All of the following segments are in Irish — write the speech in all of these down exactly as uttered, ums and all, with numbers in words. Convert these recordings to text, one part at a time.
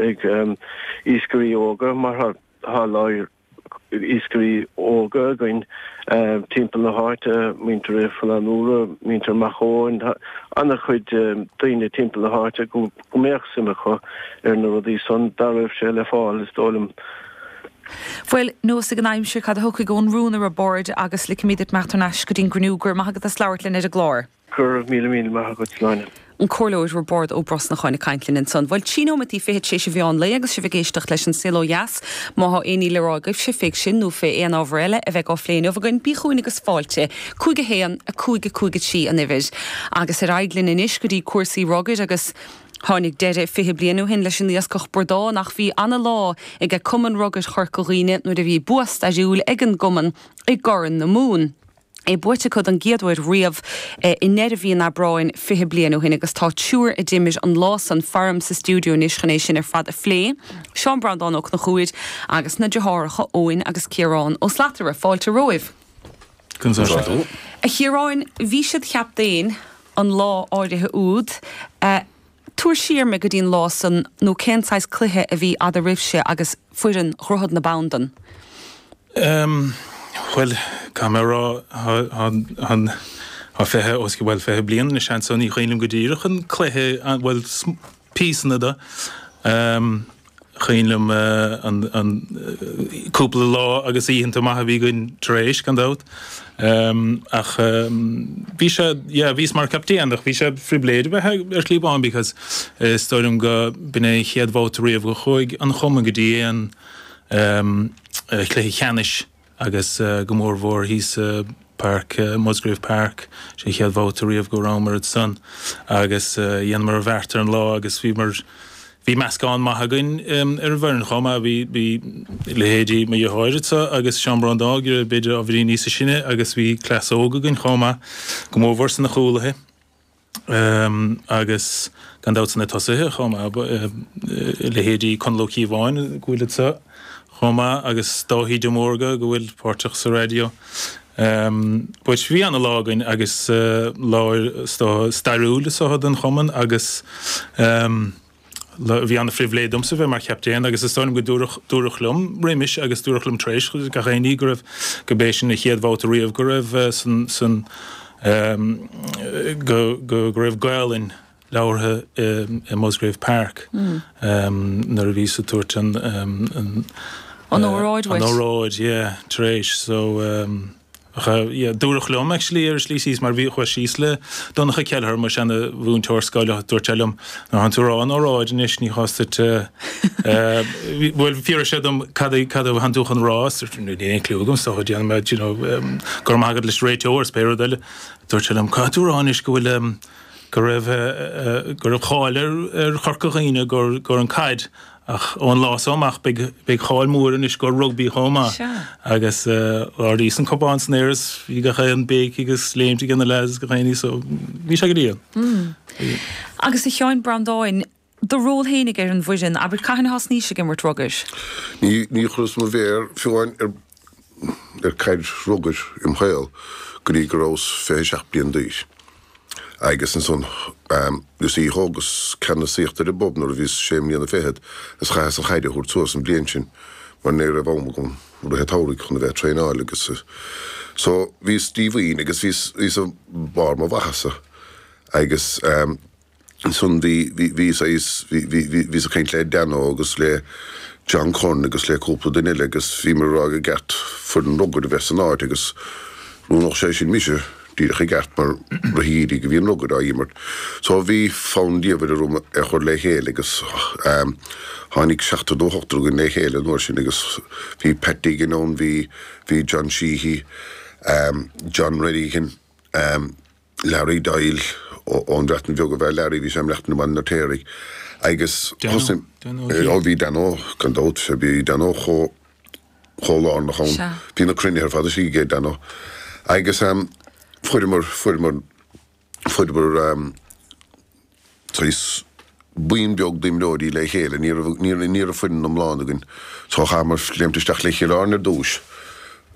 ag iascairí óga mar tá iascairí óga againn timpeall na háite, muintir Faoileán Úra, muintir Maigh Eoin, an-chuid daoine timpeall na háite go mbeadh suim acu ar na rudaí san dá raibh sé le fáil is dóigh liom. Bhuel, nós ag an aimsir cad a thiocfaidh ón rún a Roibeaird agus ligfimid duit imeacht thar n-ais go dtí'n gcruinniú go raibh maith agat as labhairt linn ar an gclár. Go raibh míle míle maith agat Sláine. An Comhairleoir Roibeárd Ó Brosnacháin ag caint linn ansan. Bhuel, trí nóimeataí fichead tar éis an mheán lae agus sibh ag éisteacht leis an Saol Ó Dheas. Má thá aon ní le rá agaibhse fé sin nó fé aon ábhar eile a bheidh á phlé inniu againn, bí chugainn agus fáilte. Cúig a haon, a cúig a cúig a trí an uimhir. Agus ar aghaidh linn anois go dtí cúrsaí rugair agus Tháinig deireadh fiche bliain ó shin leis an iascach bradán ach bhí ana-lá ag Cumann Rugair Chorca Dhuibhne nuair a bhí bua stairiúil ag an gcumann i gCorn na Mumhan. É buaite acu don gcéad uair riamh i ndeireadh mhí an Aibreáin fiche bliain ó shin agus tá triúr a d'imir an lá san faram sa stiúideo anois chun é sin ar fad a phlé, Seán Breandán Ó Conchúir agus na deartháireacha Eoin agus Ciarán Ó Slatara. Fáilte romhaibh. A Chiaráin, bhí siad chaptaen an lá áirithe úd. Tabhair siar mé go dtí an lá san nó cén saghas cluiche a bhí eadraibhse agus foireann Dhroichead na Bandan? Um, bhuel, caithfidh mé a rá, tá fiche, os cionn, bhuel, fiche bliain anois anso, ní cuimhin liom go díreach an cluiche, bhuel, píosanna de. Um, cuimhin liom an, an cúpla lá agus oícheanta maith a bhí againn tar éis, gan dabht. Um, ach um, bhí sé, yeah, bhíos mar captaen ach bhí sé phribhléid a bheith ar shlí amháin because is dóigh liom go b'in é an chéad bhabhta riamh go chuaigh an chumann go dtí aon um, cluiche ceannais agus uh, go mór mhór thíos uh, Park, uh, Musgrave Park, sé chéad bhabhta riamh go rabhamar ansan agus uh, dhéanamar an bheart ar an lá agus bhí mar Bhí meascán maith againn ar an bhfoireann chomh maith, bhí bhí leithéidí mo dheartháir agus Seán Breandán b'fhéidir ábhairín níosa sine agus bhí cleas óg againn chomh maith, go mórmhór sna cúlaithe agus gan dabht sna tosaithe chomh maith, leithéidí Conall Ó Cíobháin go bhfuil anseo chomh maith agus Dáithí de Mórdha go bhfuil páirteach sa raidió. But bhí ana-lá againn agus lá stairiúil is dócha don chumann agus Bhí ana-phribhléid domsa bheith mar chaptaen agus is dóigh liom go dúradh, dúradh liom roimis agus dúradh liom tar éis gach aon ní go raibh, go b'é sin an chéad bhabhta riamh go raibh san, san, go, go, go raibh Gaelainn labhartha i Musgrave Park nuair a bhíos ag tabhairt an, an, An óráid an óráid, yeah, tar éis so. Yeah, dúradh liom actually ar an slí síos mar bhí chuas síos le Donncha Kelleher, mo seana mhúinteoir scoile, dúirt sé liom nuair atánn tú ag rá an óráid anois ní chás duit eh, bhuel fiafraigh sé dom cad é cad a thánn tú chun rá, is dúirt níl aon clue agam so déanfaidh mé you know go raibh maith agat leis an réiteoir is pé rud eile. Dúirt sé liom caithfidh tú rá anois go bhfuil em, go raibh eh, go raibh cáil ar ar Chorca Dhuibhne gur gur an caid Ach ón lá so amach beidh beidh cáil mhór anois gur rugbaí chomh maith. Sea. Agus ardaíos an cupán san aer is bhí gach aon béic agus léimt ag na lads gach aon ní so bhí sé go diail. Agus a Sheáin Breandáin, do ról fhéinig ar an bhfoireann, abair cathain a thosnaís ag imirt rugair? Ní ní chuireas mo mhéar fiú amháin ar ar caid rugair im shaol go dtí go rabhas fiche seacht bliain d'aois. Agus ansan, you see, thógas ceannasaíocht ar an bpub nuair a bhíos sé mbliana fichead is chaitheas an chaid a thabhairt suas an bhliain sin mar ní raibh am agam i rith an tsamhraidh chun a bheith ag traenáil agus so bhíos díomhaoin agus bhíos bhíos i mbarr mo mhaitheasa agus ansan bhí bhí bhí saghas bhí bhí bhí bhíos ag caint le Danno agus le John Curran agus le cúpla duine eile agus bhíomar ag rá gur cheart foireann rugair a bheith san áit agus roghnódh sé sin mise. Díreach i gceart mar rith an gheimhridh a bhí an rugar á imirt. So bhí fonn diamhair orm é a chur le chéile agus tháinig seachtar nó ochtar againn le chéile an uair sin agus bhí Pat Deegan ann, bhí bhí John Sheehy, John Redigan, Larry Doyle ón Bhreatain Bheag ab ea Larry, bhí sé i mBreatain i mBaile an Fheirtéaraigh agus thosaigh, ó bhí Danno gan dabht, bhí Danno chomh chomh lárnach ann. Sea. Bhí na cruinnithe ar fad istigh ag Danno. Agus fuaireamar, fuaireamar, fuaireamar saghas buíon beag d'imreoirí le chéile. Ní raibh, ní raibh, ní raibh foireann iomlán againn. So chaitheamar léimt isteach le Cill Airne ar dtúis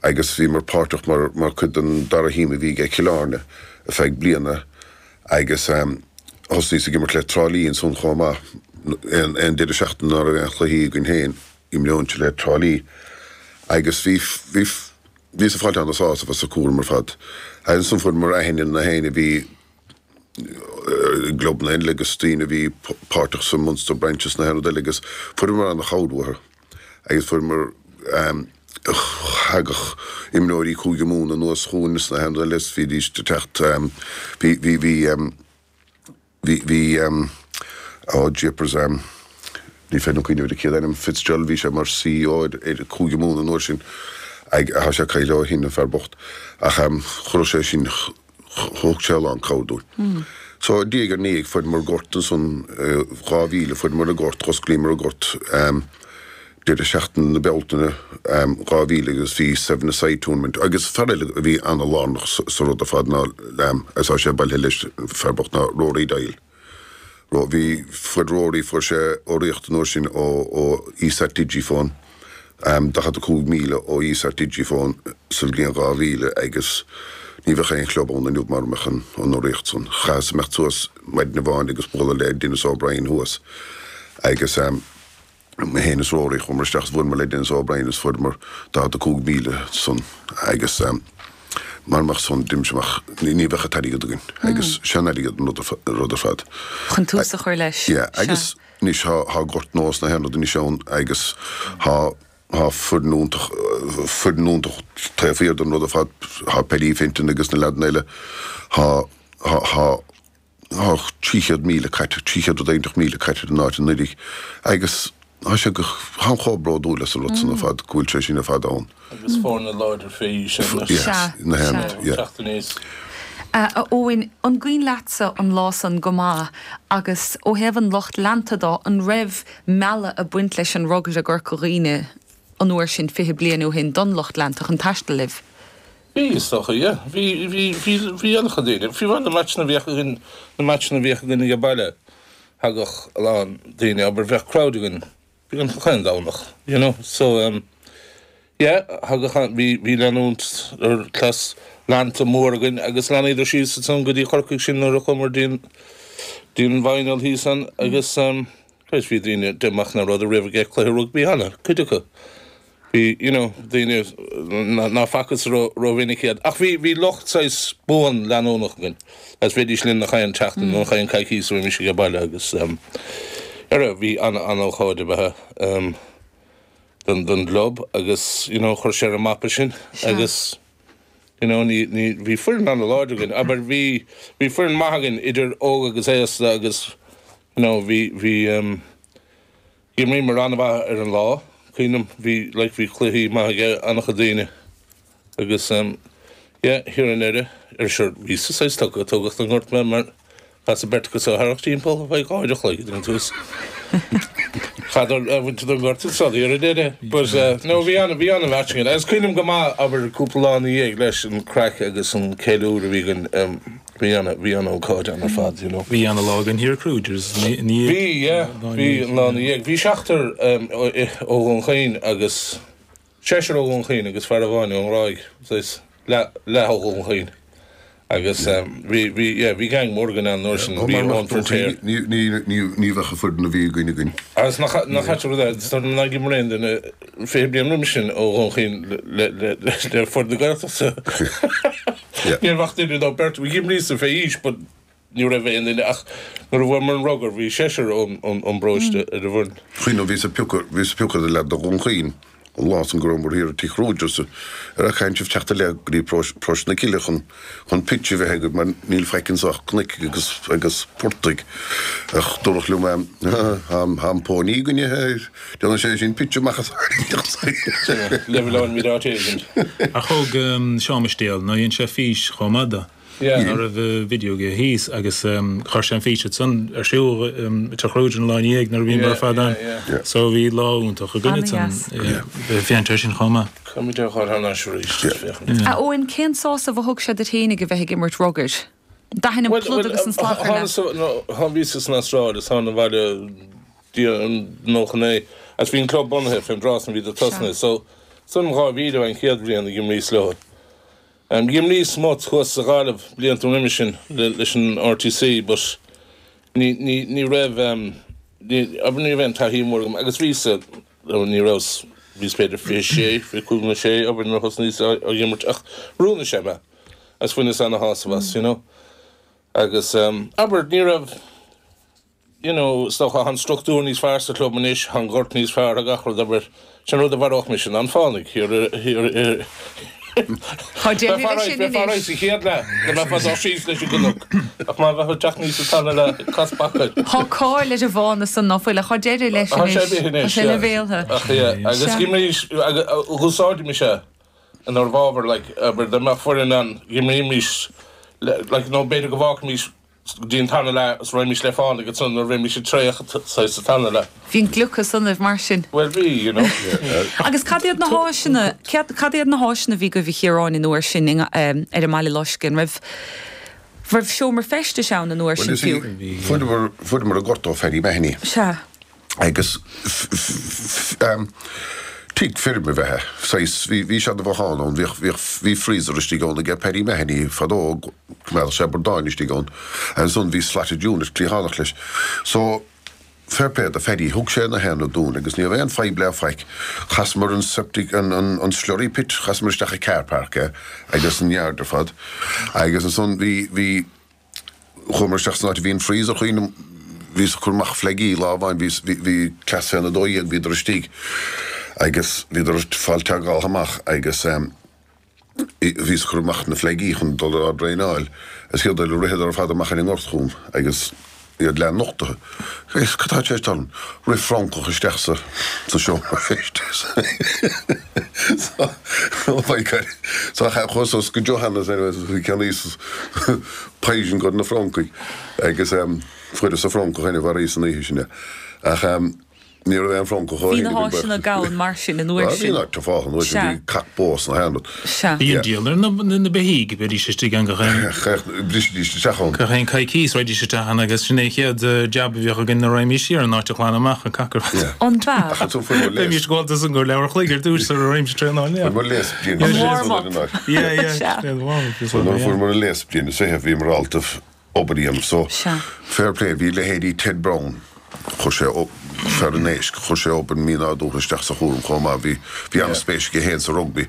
agus bhíomar páirteach mar, mar chuid den dara thím a bhí ag Cill Airne ar feadh bliana agus thosnaíos ag imirt le Trá Lí ansan chomh maith. aon aon deireadh seachtaine ná raibh aon chluichí againn féin, imreoinnse le Trá Lí agus bhí bhí bhíos ag fáilt an-sásamh as an cúram ar fad. Agus ansan fuaireamar aithne ar na héinne a bhí i gclubanna eile agus daoine a bhí páirteach sa Munster Branch is na haon rud eile agus fuaireamar an-chabhair uathu agus fuaireamar thagadh imreoirí Cúige Mumhan anuas chugainn is na haon rud eile is bhídís ag teacht bhí bhí bhí bhí bhí oh jeepers ní féidir liom cuimhneamh ar a chéad ainm Fitzgerald bhí sé mar CEO ar ar Cúige Mumhan an uair sin ag tá sé caillte ó shin an fear bocht ach chuir sé sin Thug sé a lán cabhair dúinn. So, diaidh ar ndiaidh, fuaireamar gort ansan, dhá mhíle, fuaireamar an gort, dh'osclaíomar an gort deireadh seachtaine na Bealtaine dhá mhíle agus bhí seven a side tournament agus fear eile a bhí ana-lárnach sa rud ar fad ná, agus tá sé bailithe leis, fear bocht ná Rory Doyle. Ro, bhí, fuair Rory, fuair sé urraíocht an uair sin ó, ó Esat Digifone, daichead a cúig míle ó Esat Digifone sa bhliain dhá mhíle agus ní bheadh aon chlub ann inniu mara mbeadh an, an urraíocht san. Chaitheas imeacht suas maidin amháin agus bualadh le Denis O'Brien thuas agus mé féin is Rory, chuamar isteach is bhuaileamar le Denis O'Brien is fuaireamar daichead a cúig míle san agus mara mbeadh san d'imse amach, ní bheadh an t-airgead againn agus sean-airgead an rud ar fad. Chun tús a chur leis. Yeah, agus anois thá, thá gort nua is na haon rud anois ann agus thá, thá foireann iontach, foireann iontach taobh thiar den rud ar fad, thá Paddy Fenton agus na leaideanna eile, thá, thá, thá, Tá trí chéad míle caite, trí chéad rud éiginteach míle caite ar an áit anuraidh agus tá sé go, táim chomh bródúil as an rud san ar fad, go bhfuil sé sin ar fad ann. Agus foirne láidir fé aois anois. Yes, na haon rud, yeah. Teacht aníos. A Eoin, an gcuimhin leatsa an lá san go maith agus ó thaobh an lucht leanta de, an raibh mealladh ag baint leis an rugar i gCorca Dhuibhne an uair sin fiche bliain ó shin don lucht leanta chun taisteal libh? Bhí, is dócha, yeah. Bhí, bhí, bhí, bhí an-chuid daoine. Fiú amháin na matchanna a bhíodh againn, na matchanna a bhíodh againn age baile, thagadh a lán daoine, abair, bheadh crowd againn beagnach chaon Domhnach, you know. So, um, yeah, thagadh an, bhí, bhí leanúint ar cleas leanta mór againn agus leanaíodar síos ansan go dtí Corcaigh sinn nuair a chuamar dtí an, dtí an final thíos ann agus, um, Christ, bhí daoine, de amach nach rabhadar riamh ag cluiche rugbaí cheana, cuid acu. Bhí, you know, daoine ná facthas rómhinic iad. Ach bhí, bhí lucht saghas buan leanúnach againn agus bhídís linn nach aon tseachtain nó nach aon coicís a bhímis age baile agus ehm, ara, bhí an-an-ócáid ab ea ehm don, don gclub agus, you know, chuir sé ar an mapa sinn agus, you know, ní, ní, bhí foireann an-láidir againn. Abair, bhí, bhí foireann maith againn idir óg agus aosta agus, you know, bhí, bhí ehm, D'imríomar an-mhaith ar an lá, cuimhním, bhí like bhí cluichí maith ag an-chuid daoine agus em yeah thiar i nDoire, ar sure bhíos-sa saghas tugtha, tógadh don ngort mé mar chaithfeas beirt acu so tharrac timpeall faoi dhá uair a chloig ag an tús. Chadar a bhaint don ngort is rudaí ar an deireadh but eh no bhí an bhí an-mhatch againn agus cuimhním go maith abair cúpla lá ina dhiaidh leis an craic agus an ceiliúradh a bhí againn em Bhí an, bhí an-ócáid ann ar fad, you know. Bhí ana-lá againn thiar i Kruger's ina dhiaidh. Bhí, yeah, bhí an lá ina dhiaidh. Bhí seachtar ó Dhún Chaoin agus, seisear ó Dhún Chaoin agus fear amháin ón nGráig, saghas leath, leath ó Dhún Chaoin. Agus bhí, bhí, yeah, bhí gang mór againn ann an uair sin, bhí Eoin Feirtéar. Ní, ní, ní, ní bheadh an foireann a bhí againn againn. Agus nach, nach ait an rud é, is dóigh liom nár dh'imir aon duine fiche bliain roimis sin ó Dhún Chaoin le, le, le, le foireann na Gaeltachta. Ní raibh ach duine nó beirt, bhí d'imríos-sa fé aois but ní raibh aon duine ach nuair a bhuamar an rugar bhí seisear ón bparóiste ar an bhfoireann. Cuimhním, bhíos ag piocadh, bhíos ag piocadh le leaid ó Dhún Chaoin an lá san go rabhamar thiar i Tigh Kruger's ar caithfidh sibh teacht i leith go dtí Paróiste na Cille chun chun pitch a bheith agaibh mar níl faic anso ach cnoic agus agus portaigh ach dúradh liom tá an póiní againne déanann sé sin pitch amach as Leibhéal míle áit éigin. Ach thóg Seán Mistéal, nó dhein sé fís chomh maith de. Yeah. Ná raibh video aige thíos agus chuir sé an fís ansan ar siúl i Teach Kruger an lá ina dhiaidh nuair a bhíomar ar fad ann. So bhí lá iontach againn ansan. Bhí féachaint air sin chomh maith. Caithfimid é a chur thar n-ais arís, féachaint. A Eoin, cén sásamh a thug sé duit fhéinig a bheith ag imirt rugair? D'aithin an pluid agus an slachar leat? Bhuel, bhíos san Astráil is thána abhaile nócha naoi agus bhí an club bunaithe fén dtráth san bhíodar tosnaithe so san dhá mhíle an chéad bhliain a dh'imríos leo. Dh'imríos smut thuas sa Ghaillimh blianta roimis sin leis an RTC but ní ní ní raibh Abair ní raibh aon taithí mór agam agus bhíos ní raibh bhíos b'fhéidir fiche sé, fiche cúig nó sé, abair nuair a thosnaíos á imirt ach mhúin sé mé agus bhaineas ana-shásamh as, you know. Agus abair ní raibh you know, is dócha an struchtúr níos fearr sa chlub anois, an gort níos fearr, gach rud abair, sin rud a mharódh mise ná an fánaigh. Tá deireadh leis sin anois. Sa chéad leath, go mbeifeá dul síos leis an gcnoc, ach má bheifeá ag teacht aníos an tarna leath, cas bacáil. Tá cáil ar an bhfána san ná fuil, ach tá deireadh leis Tá sé anois. imithe Tá anois, sé ina yeah. bhéaltha. Ach yeah, agus Sea. d'imrís, dh'úsáidimis é inár bhfabhar, like, abair, dá mbeadh foireann ann, d'imrímis, like, nó b'fhéidir go bhfágfaimis go dtí an tarna leath is raghaimís le fánaigh ansan nuair a bheimis ag traochadh saghas sa tarna leath. Bhí an gliocas ionaibh mar sin. Bhuel bhí, you know. Agus cad iad na háiseanna, cad cad iad na háiseanna a bhí agaibh a Chiaráin an uair sin in, um, ar an mBaile Loiscthe? An raibh raibh seomra feistis ann an uair Well, sin you see, fiú? fuaireamar fuaireamar an gort ó Phaddy Mahony. Sea. Agus um, tigh feirme ab ea é. Saghas, bhí bhí sé de bhothán ann, bhíodh bhíodh bhí freezer istigh ann ag Paddy Mahony fadó, choimeádadh sé bordáin istigh ann. Ansan bhí slatted unit cliathánach leis. So, fair play do Phaddy, thug sé na haon rud dúinn agus ní raibh aon fadhb le faic. Chasamar an septic, an, an, an slurry pit, chasamar isteach i car park é, agus an yard ar fad. Agus ansan bhí bhí chuamar isteach san áit a bhí an freezer chuoin bhíos ag cur amach fleigí lá amháin, bhí bhí bhí cleas féna dó dhéag bhíodar istigh agus bhíodar ag fáil teagmháil amach agus um, bhíos ag cur amach na fleigí chun dul á draenáil is chéad eile ritheadar ar fad amach ar an ngort chugam agus iad leath nochtaithe. Is cad tá sé tan rith francach isteach sa sa seomra feistis. So, oh my God. So chuas go Johannes bhí ceannaíos poison go na francaigh agus um, fuaireas an francach ina bhar san oíche sin. Ach um, ní raibh aon francach Bhí na háiseanna gann mar sin an uair Bhí sin. na fá an uair sin Sea. bhí cac bós na haon rud. Sea. Bhí an díol ar na na beithígh bhídís istigh ann gach aon Brisidís isteach ann. gach aon coicís raghaidís isteach ann agus sin é chéad eh, jab a bhíodh againn nuair a raghaimís siar an áit a ghlanadh amach an cac ar fad. Yeah. An bhea? Ach ansan fuair muid léas. Bhímis gabhálta san go leathuair a chloig ar dtús sar a raghaimís traenáil. Fuair muid léas bliain. An warm-up. Yeah, yeah. Sea. Yeah, the warm-up is So nuair yeah. fuair muid léas bliain is fiche bhíomar ábalta obair a dhéanamh. So Sea. fair play bhí leithéidí Ted Brown. Chuir sé ó fear an éisc, chuir sé obair mínádúrtha isteach sa chúram chomh maith bhí bhí an-spéis aige féin sa rugby.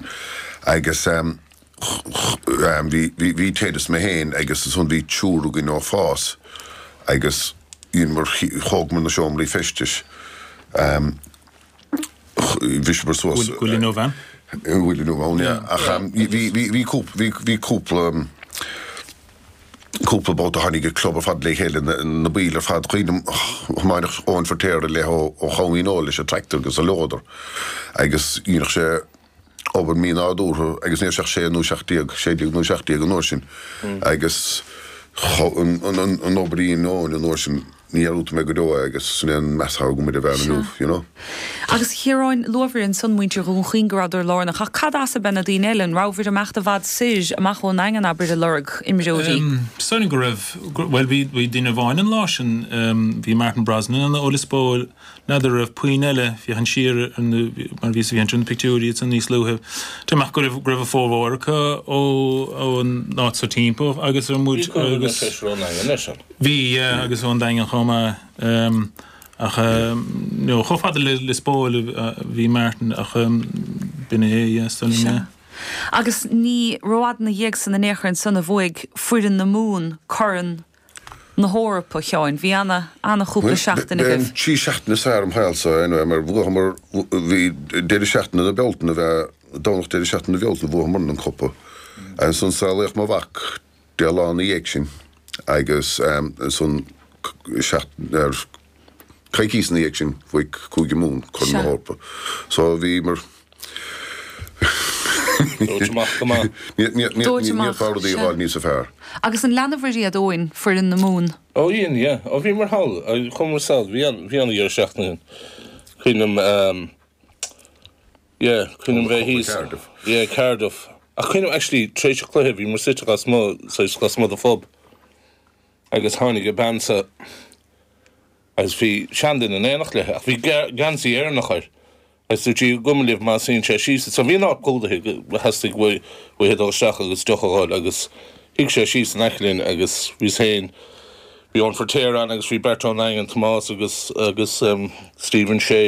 Agus um, um, bhí bhí bhí Ted is mé féin agus ansan bhí triúr againn ó fás agus dheineamar thógamar na seomraí feistis. Um, bhí suas Willie nó bhean? Willie nó bhean, yeah. Ach um, bhí bhí bhí cúp bhí bhí cúpla um, cúpla babhta tháinig an club ar fad le chéile na, na baill ar fad cuimhním tháinig Eoin Feirtéar le ó ó Chamhaoin leis an tractor agus a loader agus dhéanadh sé obair mínádúrtha agus ní seach sé nó seacht déag sé déag nó seacht déag an uair sin agus cho- an an an an obair a dhein Eoin an uair sin ní dhearúdfaidh mé go deo é agus sin é an meas atá agam ar an bhfear inniu, you know. Agus Chiaráin luabhair ansan muintir Dhún Chaoin go rabhadar lárnach, ach cad as ab ea na daoine eile an rabhabhair amach i bhfad soir amach ón nDaingean abair ag lorg imreoirí. Sóin go raibh well bhí bhí duine amháin an lá sin um, bhí Martin Brosnan an ó Liospóil n'fheadar raibh puinn eile bhí an siar an mar bhí bhí an na pictiúirí san níos luaithe. Tá amach go raibh go raibh a formhór acu ó ó an áit sa timpeall agus ar muid agus Bhí yeah, agus ón Daingean chomh maith um, ach um, no, chomh fada le Liospóil uh, bhí Martin ach um, b'in é yeah, Sea. yeah. Agus ní rófhada ina dhiaidh san in aon chor ansan a bhuaigh foireann na Mumhan Corn na hEorpa Sheáin, bhí ana ana chúpla seachtain agaibh. Trí seachtaine is fearr im shaolsa anyway, mar bhuamar bhí deireadh seachtaine na Bealtaine bheith Domhnach deireadh seachtaine na Bealtaine bhuamar an cupa. Ansan saolaíodh mo mhac deich lá ina dhiaidh sin agus um, ansan seacht ar coicís ina dhiaidh sin bhuaigh Cúige Mumhan Corn na Sea. hEorpa. So bhí mar Dóite amach go maith. Dóite amach, Ní rudaí sea. fháil níos fearr. Agus an leanabhair iad Eoin foireann na Mumhan. Ó dhein, yeah. Ó bhí mar thall, chuamar sall, bhí an bhí an deireadh seachtaine. Cuimhním um, yeah, cuimhním bheith thíos. Cardiff. Yeah, Cardiff. Ach cuimhním actually tar éis an chluiche bhí mar suite lasmuigh saghas lasmuigh de phub. Agus tháinig a bean sa agus bhí seanduine in éineacht léi, ach bhí geansaí Éireannach air. Agus dúirt sí gabh mo leithscéal má suíonn sé síos, so bhí an áit clúdaithe theastaigh uaidh dul isteach agus deoch a fháil agus shuigh sé síos in aice linn agus bhíos féin Bhí Eoin Feirtéar ann agus bhí beirt ón nDaingean Tomás agus agus um, Stephen Shea